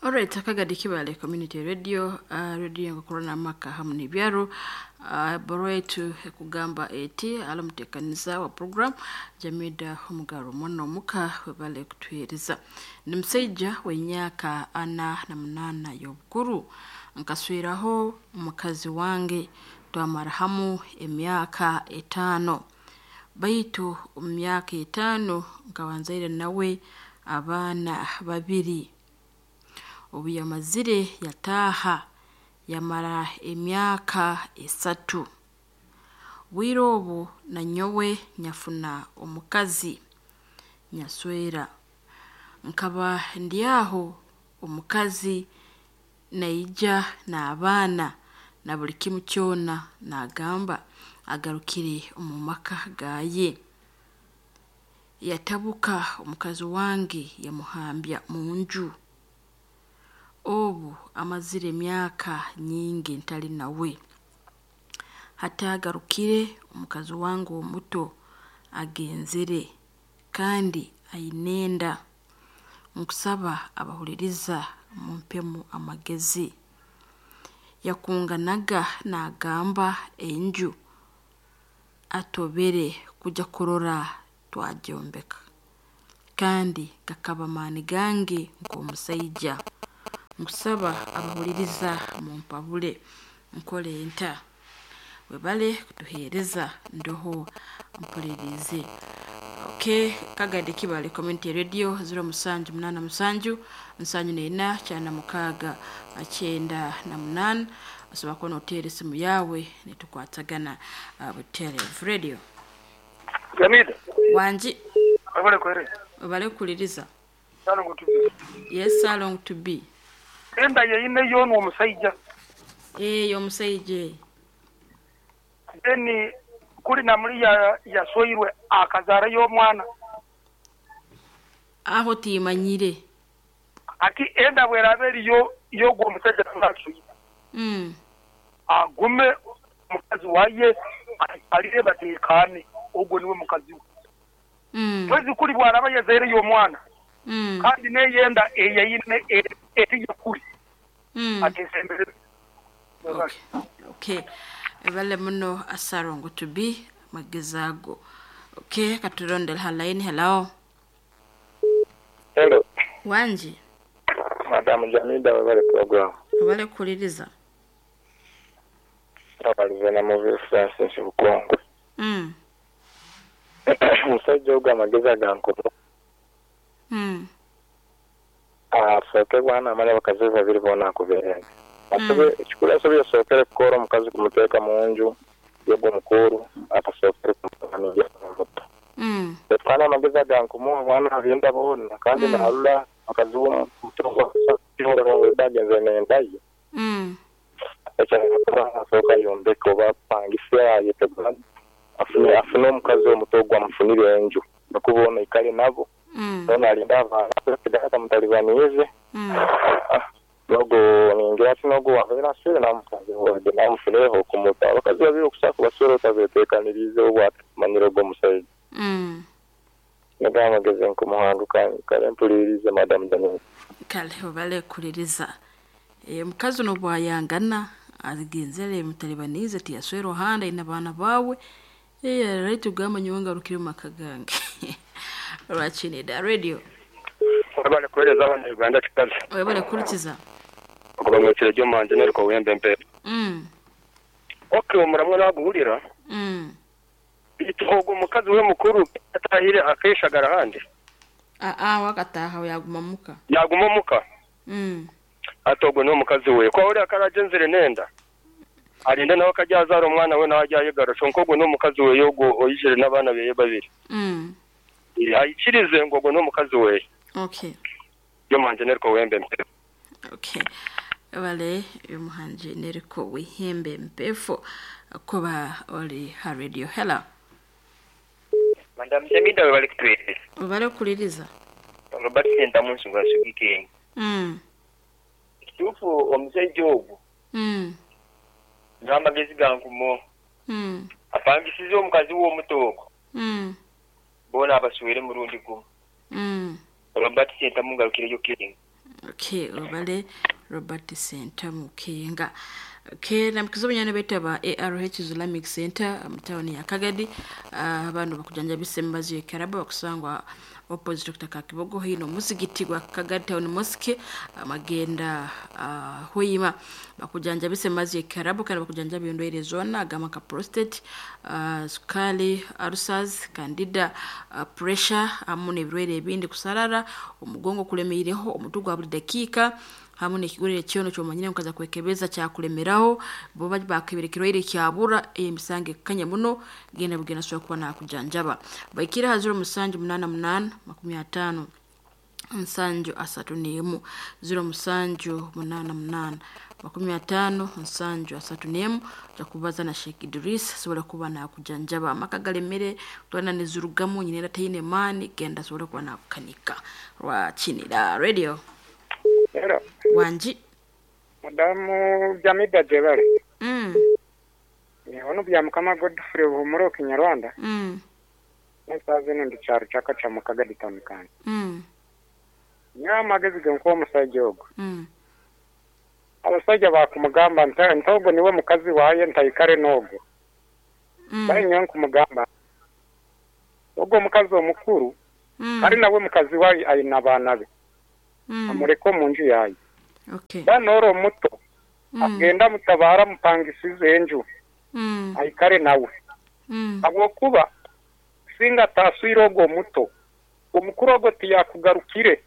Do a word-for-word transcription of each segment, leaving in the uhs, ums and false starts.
Alright, akagadi Kibale Community Radio, uh, radio ngakorana amaka hamu n'ebyaro. uh, baro yetu ekugamba eti alamutekaniza wa program Jamida Omugaro mwana omuka webale kutuhereza. Ni musaija w'emyaka ana na munaana y'obukuru, nkasweraho omukazi wange twamara hamu emyaka etaano, baitu omu myaka etaano nkaba nzaire nawe abaana babiri. Obu yamazire yataaha yamara emyaka esatu. Bwire obu nanyowe nyafuna omukazi nyaswera. Nkaba ndi aho omukazi naija n'abaana na buli kimu kyona nagamba agarukire omu maka gaye. Yatabuka omukazi wange yamuhambya munju. Obu amazire emyaka nyingi ntali nawe. Hati agarukire omukazi wange omuto agenzere kandi aine enda. Nkusaba abahuliriza mumpemu amagezi. Yakunganaga nagamba enju atobere kuja kurora twagyombeka, kandi gakaba maani gange nk'omusaija. Nkusaba abahuliriza mumpabule nkole nta. Webale kutuhereza ndoho mpulirize. Okay, kagadi Kibale Community Radio ziro musanju munana musanju nsanju nena kyana mukaaga kyenda na munana. Osobola kuba noteera esimu yawe nitukwatagana uh, Butere Radio. Jamida, Wangi webale kuhereza. webale kukuliriza. Salongo to be. Yes, salong to be. Enda yeine yono omusaija. Eh, omusaija. Then kuli namuli ya yaswoirwe akazaara y'omwana. Aho timanyire. Ati enda bweraba eriyo y'ogwo omusajja ngaswire. Mm. Agume mukazi waye alire batekane ogwo niwe mukazi we. Mm. Mwezi kuli bwaraba yazaire y'omwana. Mm. Kandi neyenda eyeyine etiyo kuli. Mm. Atesembere. Okay. Okay. Ebale muno asarongo to be magezi ago. Okay, katulondele ha line. Hello. Hello, Wangi. Madam Jamida webale program. Webale kukuliriza. Abalivena muvi Francis Bukongo. Mm. Omusajja ogwo amagezi agankumu. Mm. Asooke bwana amanya abakazi be babiri boona akubeerenge. Asobe ekikulu asobe yasookere kukoora omukazi kumuteeka mu nju yogwo omukuru atasookere kumutamija omuto. Mm. Etwana amagezi agankumu omwana abyenda boona kandi Mm. nalula mukazi w'omuto agenze nenda ye. Mm. Ekyo asooka yombeke oba apangise ayetegula afune afune omukazi omuto ogwo amufunire enju nokuba ono ikale nabo Mm. ono alinde abaana sigala mutalibaniize. Mm. Nogo ningira ati nogo wabeera aswire namukazi wage namufuneho okumuta abakazi babiri okusaku baswere otabeteekaniriize obwatamanyire ogwo omusajja. Mm. Nigo amagezi nkumuhanduka kale mpulirize Madam Jamida. Kale webale kukuliriza. E, omukazi ono bwayangana agenzere mutalibanize tiyaswera ohanda aine abaana baawe. Eh, right ugamba nyowe ngarukire mu maka gange. Lwakinida radio. Webale kuhereza abana Uganda kikazi. Webale kurikiza. Okuba mwekire gyomanje neriko wembe mpe. Mm. Okay, omuramwa naguhurira. Mm. Ogwo omukazi we mukuru atahire akeshagara handi. Ah ah wakataha yaguma muka. Yaguma muka. Mm. Ati ogwo niwe mukazi we. Kwa uri akaragenzere nenda. Alinde nawe akajya azara omwana we nawe ajya ayegarusha. Nko ogwo niwe mukazi we yogo oyijire n'abaana beye babiri. Mm. Ayikirize ngo ogwo niwe mukazi we. Okay. Gyomanje neriko wembe mpe. Okay. Wale umuhanji neriko wihembe mpefo kuba oli ha radio. Hello. Madam Jamida webale kutuhereza. Webale kukuliriza. Robert Sentamu nsonga asugike. Mm. Ekituufu omusajja ogwo Mm. n'amagezi gankumo Mm. apangisize omukazi we omuto ogwo Mm. boona abaswere murundi gumu. Mm. Robert Sentamu ngarukireyo King. Okay, obale Robert Sentamu Kenga. Okay, namukiza obunyana beeta ba A R H Islamic Center mu tawuni ya Kagadi. uh, abantu bakujanjabisa emibazi y'ekaraba, bakusangwa opposite Doctor Kakibogo hino muzigiti gwa Kagadi Town Mosque, amagenda uh, huyima. Bakujanjabisa emibazi y'ekaraba kandi bakujanjaba endwaire zoona, agamba nka prostate, uh, sukali, ulcers, candida, uh, pressure hamu n'ebirwaire ebindi, kusarara omugongo kulemeireho, omutwe gwa buli dakiika, hamu n'ekigurire kyono kyomanyire mukaza kwekebeza kyakulemeraho. Bo bakebera ekirwaire kyabura, emisango ekukanya muno, genda bugenda asobora kuba nakujanjaba. Baikire ha zero musanju munaana munaana makumi ataano nsanju asatu n'emu, zero musanju munaana munaana makumi ataano nsanju asatu n'emu. Ojja kubaza na Sheikh Idris, asobora kuba nakujanjaba. Amaka galemere, twana nizirugamu nyina era taine maani, genda asobora kuba nakukanika. Rwakinira Radio. Hello, wanji. Madamu Jamida Jebale. mm. Ono bya Mukama Godfrey Buhumuro Kinyarwanda. Mm. Nesaza ino ndi kyaro kyakaca mu Kagadi town kandi. Mm. Nyawe amagezi ge nkuwa omusajja ogwo. Mm. Abasajja bakumugamba nti nti ogwo niwe mukazi waye ntayikare n'ogwo. Mm. Bari nyowe nkumugamba ogwo omukazi omukuru Mm. ari nawe mukazi waye ayina abaana be, Mm. amureke omu nju yaye. Okay. Banoora omuto Mm. agenda amutabara amupangisize enju, Mm. ayikare nawe, Mm. habwokuba singa ataswire ogwo omuto, omukuru ogwo tiyakugarukire.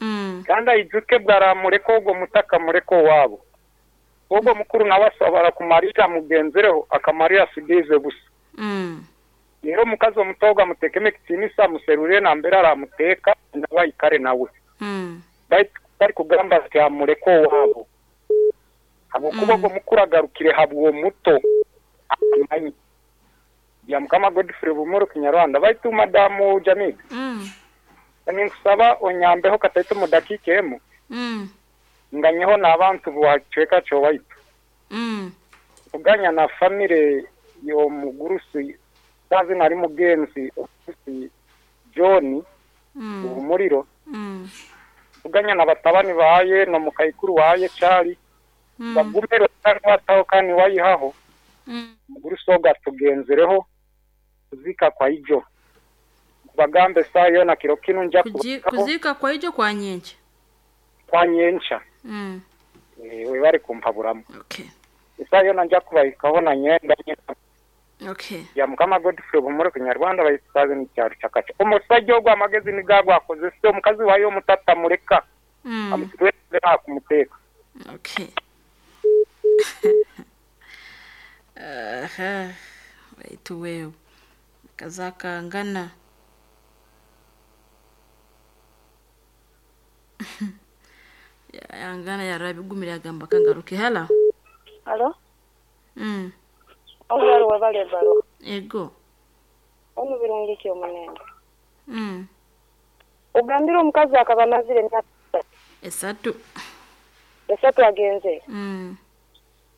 Mm. Kandi aijuke bwaramureka ogwo muto akamureka owaabo, ogwo mukuru nawe asobora kumarira amugenzereho akamarira asigiize busa. Mm. Rero omukazi omuto ogwo amuteekemu ekitiinisa, amuserure nambere aramuteeka, nawe ayikare nawe. Mm. Baitu bari kugamba ati amureke owaabo, habwokuba Mm. ogwo mukuru agarukire habw'omuto amanyi. Bya Mukama Godfrey Bumuro Kinyarwanda. Baitu Madamu Jamid, Mm. ninkusaba onyambeho kataito mu dakiika emu, Mm. nganyeho n'abantu bwacweka kyowaitu, Mm. kuganya na famire y'omugurusi sazi nari mugenzi omugurusi John Mm. Umuriro, Mm. kuganya na batabani baye no mukaikuru waye Cari, Mm. bagumero bataho kandi wayihaho. Mm. Mugurusi ogwo atugenzereho kuzika kwa ijo, bagambe saa yona kiro kinu nja Kuji- kubakaho. Kuzika kwa ijo kwa nyenje. Kwa nyencha. Mm. Eh, we bari kumpaburamu. Okay. Isaa yona nja kubahikaho na nyenda. Okay. Ya Mukama Godfrey Bumuro Kinyarwanda. Bayisaze n'icyaro cyakaca omusajja ogwo amagezi nigagwo akozese omukazi wayo omutata mureka, Mm. amuswere akumuteeka. Okay. Aha. Baitu wewe kazakangana yangana yarabigumira agamba kangaruke hala. Alo, mm. omubaro webale baro. Ego. Omu birungi ki omunene. mm. Ogambire omukazi akaba amazire emyaka esatu. Esatu agenze. mm.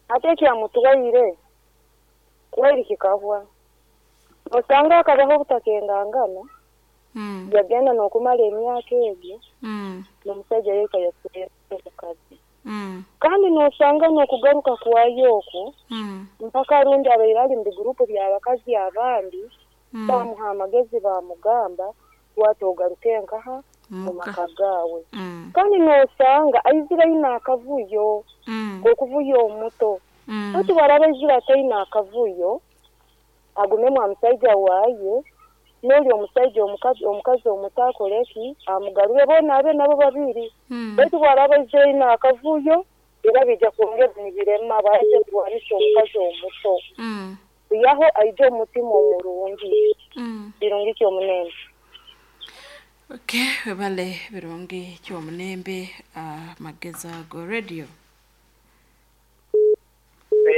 Ate ekyamutwaire kwairi kikahwa. Osanga akabaho obutakengangana, Mm. yagenda n'okumara emyaka egyo, Mm. n'omusajja yeka yasubira omukazi. Mm. Kandi n'osanga n'okugaruka kwayo okwo, Mm. mpaka rundi abaire ali mu bigurupu by'abakazi abandi, Mm. bamuha amagezi bamugamba wati ogaruke nkaha mu muka maka gaawe. mm. Kandi n'osanga aizire aine akavuyo, Mm. okuvuya omuto. Mm. Ati waraba aizire ataine akavuyo, agumemu omusajja waaye, n'oli omusajja omukazi omukazi omuto akoreki amugarure boona abe nabo babiri. Mm. Baitu bwaraba aizire aine akavuyo, era bijja kwongera nibirema baije kurwanisa omukazi omuto. Mm. Yaho aije omutima omurungi. Mm. Birungi kyomunene. Okay, webale birungi kyomunembe, amagezi ago radio.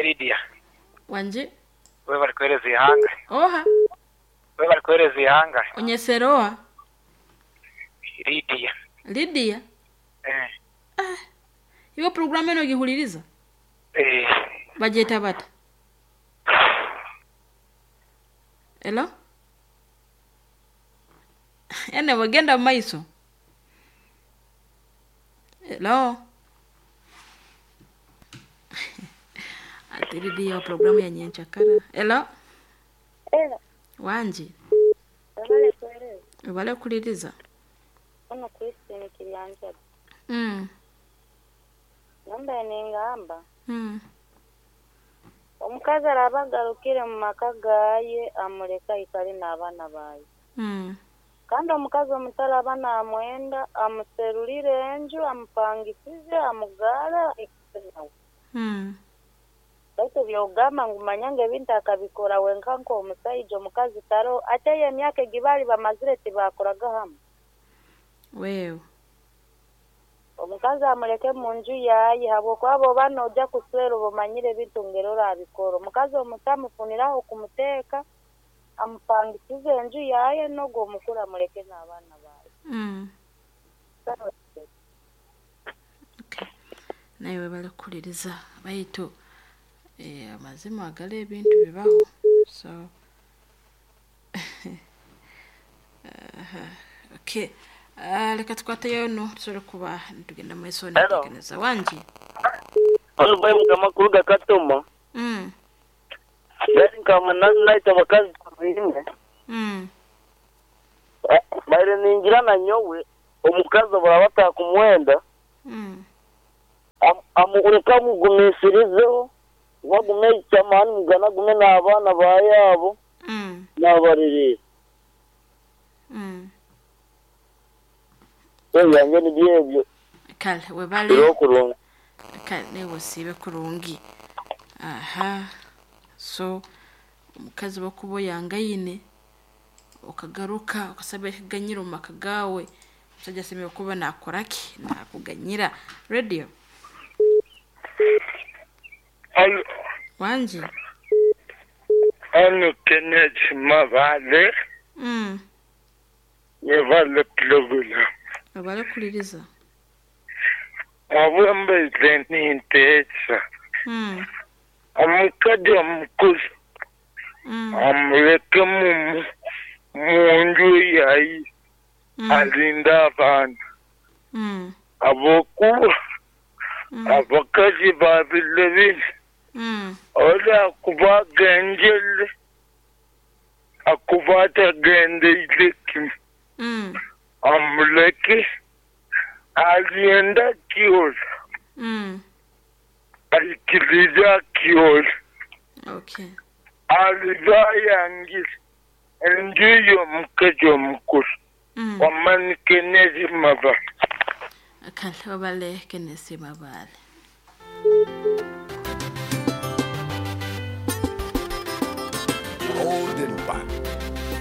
Lydia, wanje. We bari kuhereza ihanga. Oha. We bari kuhereza ihanga. Onyesera oha? Lydia. Lydia. Eh. Iwe programu eno ogihuliriza? Eh. Bagyeta bata? Elo ene wagenda mu maiso. Hello. Atiridiyo programu ya nyenchakara. Hello. Era Wanji. webale kuweereza Webale kuliriza. ono Christine Kiryanjaga Mm. namba nengamba Mm. omukazi araba agarukire mu maka gaye amureka aikare n'abaana baye Mm. kandi omukazi omutaraba namwenda amuserurire enju amupangisize amugara aikare nawe Mm. baitu byogamba ngu manya ngu ebintu akabikora wenka nk'omusaija omukazi taro ate eyo emyaka egi baali bamazire tibakoraga hamwe Wewe. omukazi amureke mu nju yaye habwokuba bwoba noja kuswera oba omanyire ebintu ngeri orabikora omukazi omuto amufuniraho kumuteeka amupangisize enju yaye n'ogwo omukuru amureke n'abaana baye Mm. Okay. Naye webale kuliriza baitu eh, amazima agali ebintu bibaho so Aha, okay. Ah, leka tukwateyo no tusobole kuba nitugenda mu maiso nitegereza wangi Ono boy mukama kuruga Katoma. mm. Gari nkama naita abakazi tuzine. Mm. Baire ningira na nyowe omukazi baraba batakumwenda Mm. am- amureka amugumisirizeho bagume icyamani mugana gume n'abaana ba yabo Mm. n'abarerera Mm. ebyange nibyo ebyo Kale webale biriho kurunga kale newe osiibe kurungi aha so omukazi bokuba oyangaine okagaruka okasaba ekiganyira omu maka gaawe omusajja asemere kuba nakoraki nakuganyira radio Alo, wangi ano Kenneth Mabale, mm. webale pulogulamu. webale kuliriza Abwembeze ninteesa. mm. Omukazi omukulu Mm. amuleke mu mu nju yayi Mm. alinde abaana. Mm. Abokuba Mm. abakazi babile bino Mm. oli akuba agenjele akuba atagendeire kimu Mm. amuleke alienda kiola Mm. aikiriza kiola Okay. aliba ayangire enju y'omukazi omukulu Mm. wamanike n'ezimaba Kale webale Kenneth Mabale. Holding back.